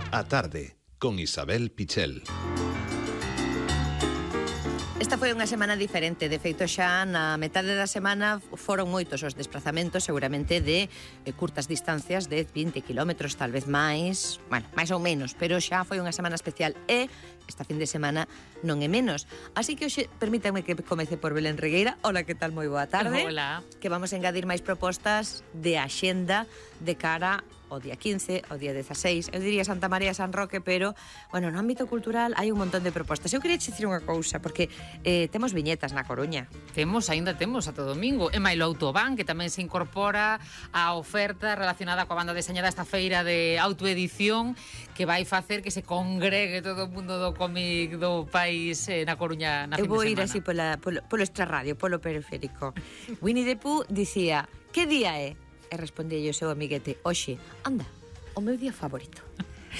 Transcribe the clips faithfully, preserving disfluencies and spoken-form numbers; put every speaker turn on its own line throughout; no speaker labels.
A tarde, con Isabel Pichel.
Esta foi unha semana diferente, de feito xa na metade da semana foron moitos os desplazamentos, seguramente de eh, curtas distancias de vinte kilómetros, tal vez máis, bueno, máis ou menos, pero xa foi unha semana especial e esta fin de semana non é menos. Así que hoxe permítanme que comece por Belén Regueira. Hola, que tal? Moi boa tarde.
Hola.
Que vamos a engadir máis propostas de axenda de cara o día quince, o día dezaseis, eu diría Santa María, San Roque, pero, bueno, no ámbito cultural hai un montón de propostas. Eu queria dicir unha cousa, porque eh, temos viñetas na Coruña.
Temos, aínda temos, ata domingo. E mailo Autobán, que tamén se incorpora á oferta relacionada coa banda deseñada esta feira de autoedición, que vai facer que se congregue todo o mundo do cómic do país eh, na Coruña na fin de semana.
Eu vou ir así pola, polo, polo extrarradio, polo periférico. Winnie the Pooh dicía, que día é? E respondía o seu amiguete, oxe, anda, o meu día favorito.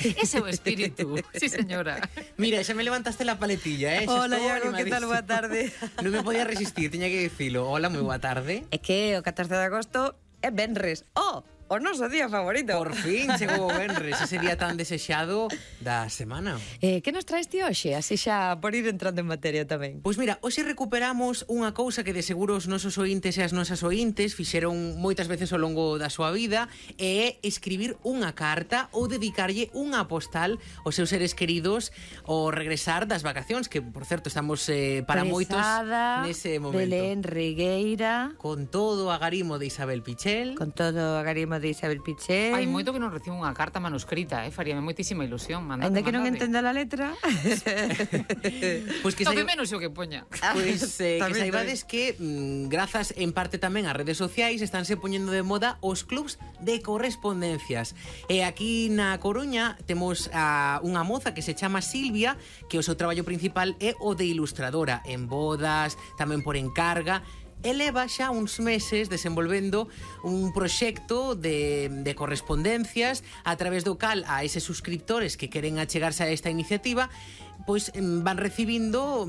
Ese é o espírito, sí señora.
Mira, xa me levantaste la paletilla, eh?
Hola, Iago, que tal? Boa tarde.
Non me podía resistir, tiña que dicilo. Hola, moi boa tarde.
É que o catorce de agosto é venres. Oh, o noso día favorito.
Por fin chegou o venres, ese día tan desexado da semana.
Eh, que nos traes ti hoxe? Así xa por ir entrando en materia tamén.
Pois mira, hoxe recuperamos unha cousa que de seguro os nosos ointes e as nosas ointes fixeron moitas veces ao longo da súa vida, e é escribir unha carta ou dedicarlle unha postal aos seus seres queridos ao regresar das vacacións, que, por certo, estamos eh, para moitos nese momento.
Belén Regueira.
Con todo o agarimo de Isabel Pichel.
Con todo o agarimo de Isabel Pichel.
Hai moito que non recibo unha carta manuscrita, eh? Faríame moitísima ilusión. Mandade,
Ainda que non
mandade.
entenda a letra.
Pois que
Tope
saiba...
menos o que poña.
Pois eh, que
Tamén,
saibades que mm, grazas en parte tamén ás redes sociais estánse poñendo de moda os clubs de correspondencias. E aquí na Coruña temos a unha moza que se chama Silvia, que o seu traballo principal é o de ilustradora en bodas, tamén por encarga. E leva xa uns meses desenvolvendo un proxecto de, de correspondencias a través do cal a eses suscriptores que queren achegarse a esta iniciativa pois van recibindo,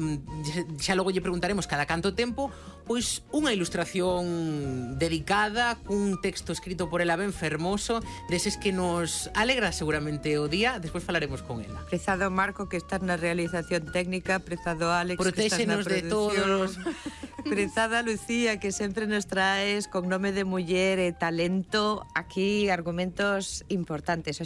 xa logo lle preguntaremos cada canto tempo, pois unha ilustración dedicada cun texto escrito por ela ben fermoso, deses que nos alegra seguramente o día. Despois falaremos con ela.
Prezado Marco, que estás na realización técnica, prezado Alex,
Protéxenos
que estás na
de todos.
Prezada Lucía, que sempre nos traes con nome de muller e talento aquí argumentos importantes.